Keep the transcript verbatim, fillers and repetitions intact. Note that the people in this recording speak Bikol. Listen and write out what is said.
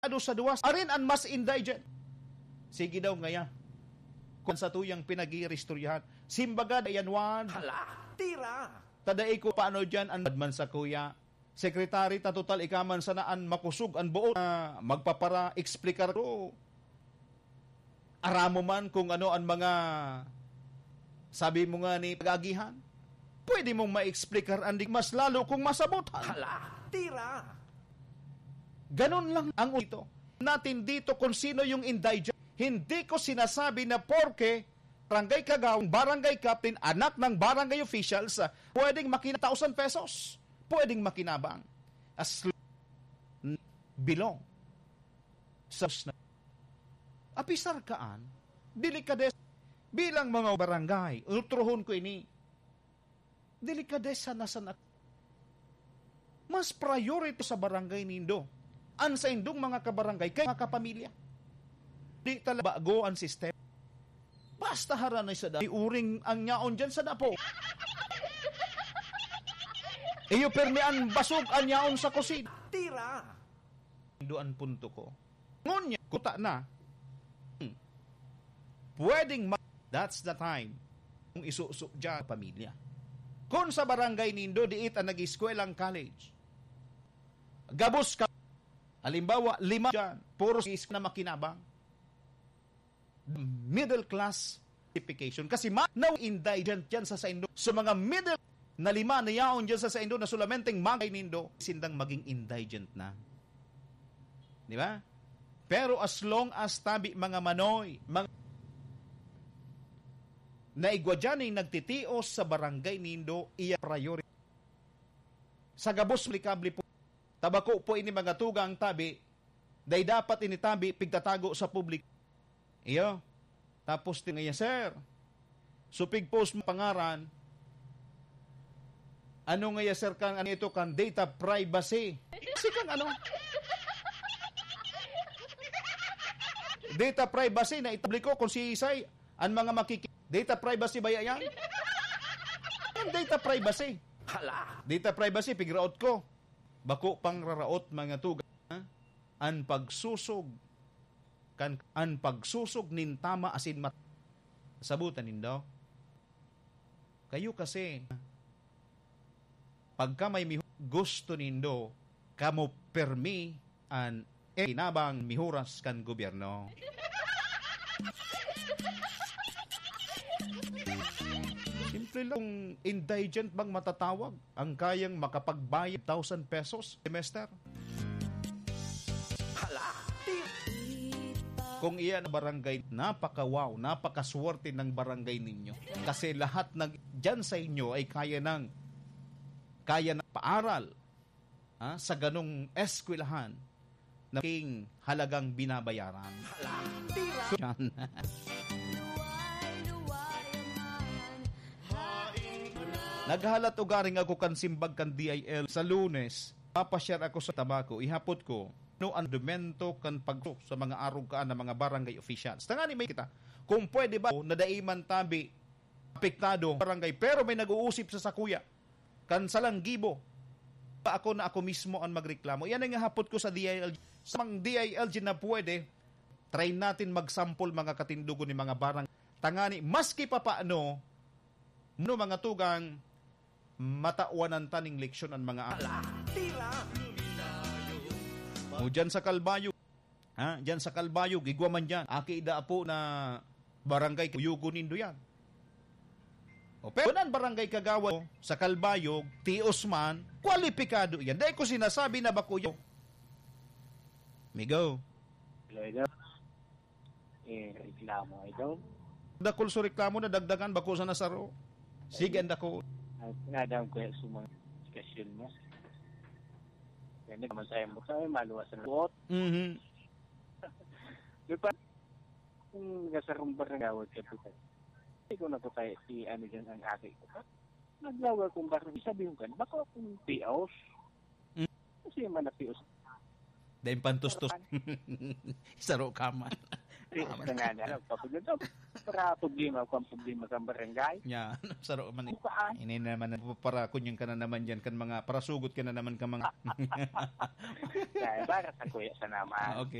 Ado sa duwas, arin an mas indigent. Sige daw ngaya. Kung sa tuyang pinag-iiristoryahan, simbaga, dayan wan. Hala, tira! Tadai ko paano diyan an badman sa kuya. Secretary, ta total ika man sana an makusog an buot na magpapara-explicar ko. Aramo man kung ano an mga sabi mo nga ni pag-agihan. Pwede mong ma-explicar an di mas lalo kung masabotan. Hala, tira! Ganun lang ang ito. Natin dito kung sino yung indigent. Hindi ko sinasabi na porke barangay kagawad, barangay captain, anak ng barangay officials, ah, pwedeng makina thousand pesos. Pwedeng makinabang. As l-, belong sa s-, na. Apisar kaan, delikades-, bilang mga barangay, utrohon ko ini. Delikadesa na sana. Mas priority sa barangay nindo. An saindong mga kabarangay kay mga kapamilya. Di talaga bago ang sistema. Basta haranay sa da-, uring ang yaon dyan sa dapo. Iyo permi an basog ang yaon sa kusina. Tira! Nindo an punto ko. Ngunyan, kuta na. Hmm. Pwedeng ma-, that's the time kung isuso dyan pamilya. Kung sa barangay nindo, diit ang nag-eskwela ang college. Gabos ka, halimbawa, lima dyan, puro is na makinabang. Middle class classification. Kasi ma-, na indigent dyan sa saindo. So, mga middle na lima na yaon dyan sa saindo na solamenteng magay nindo, sindang maging indigent na. Di ba? Pero as long as tabi mga manoy, mga naigwa dyan ay nagtitios sa barangay nindo, iya priority. Sa gabos likable po, tabako po ini mga tugang tabi, dai dapat ini tabi pigtatago sa publiko. Iyo. Tapos ti ngaya, "Sir, supig post mo pangaran." Ano ngaya, sir, kan, ano ito, kan data privacy? Kasi kan ano? Data privacy na itabliko kung si Isay, ang mga makiki-, data privacy ba yan? Ang data privacy. Hala! Data privacy, pigraot ko. Bako pang raraot, mga tuga, ha? An pagsusog, kan, an pagsusog nin tama asin mat-, sabutan nindo. Kayo kasi, pagka may mihu-, gusto nindo, kamo permi an, eh, kinabang mihuras kan gobyerno. Simple lang, kung indigent bang matatawag ang kayang makapagbayad thousand pesos semester? Hala! Kung iyan ang barangay, napaka-wow, napakaswerte ng barangay ninyo. Kasi lahat ng dyan sa inyo ay kaya ng, kaya ng paaral, ha, sa ganong eskwelahan na malaking halagang binabayaran. Hala, tira! So, yan. Naghalat ugaring ako kan simbag kan D I L sa Lunes. Papashare ako sa tabako. Ihapot ko, ano ang argumento kan pag-, sa mga arog kaan na mga barangay officials? Tangani may kita. Kung pwede ba, na dai man tabi apektado barangay, pero may nag-uusip sa sakuya. Kan salang gibo, ako na ako mismo ang magreklamo. Yan ang hapot ko sa D I L G. Sa mga D I L G na pwede, try natin magsampol mga katindugon ni mga barang. Tangani, maski pa paano, no, mga tugang, matawanan taning leksyon ang mga Hala, tira! O dyan sa Kalbayog, ha? Dyan sa Kalbayog, igwa man dyan. Aki da apo na barangay, kuyugon nindo yan. O, pero ang barangay kagawad sa Kalbayog, tios man, kwalipikado yan. Dahil ko sinasabi na bako yun. Migo. Hello, hello. Eh, reklamo, idol. Dakul sa reklamo na dagdagan, bako sa nasaro. Sige, ang dakul. Ang pinadaan ko yan sa mga diskusyon mo. Kaya naman sa'yo mo sa'yo, maluwas ang buot. Mhm. Di ba? Kung nasa rumbar ng gawad ka, di ba? Hindi ko na to kaya si ano dyan ang aki ko. Naglawa kong barangay, sabi ko kan, bako akong pios. Mm. Kasi man na pios. Dahil pantustos. Saro ka man. Di, Ah, sa nga na lang, kapag ito, para problema, kung problema sa barangay. Ya, saro man eh. Bukaan. Ini naman, para kunyang ka na naman dyan, kan mga, parasugot ka na naman ka mga. Kaya, para sa kuya sa naman. Ah, okay.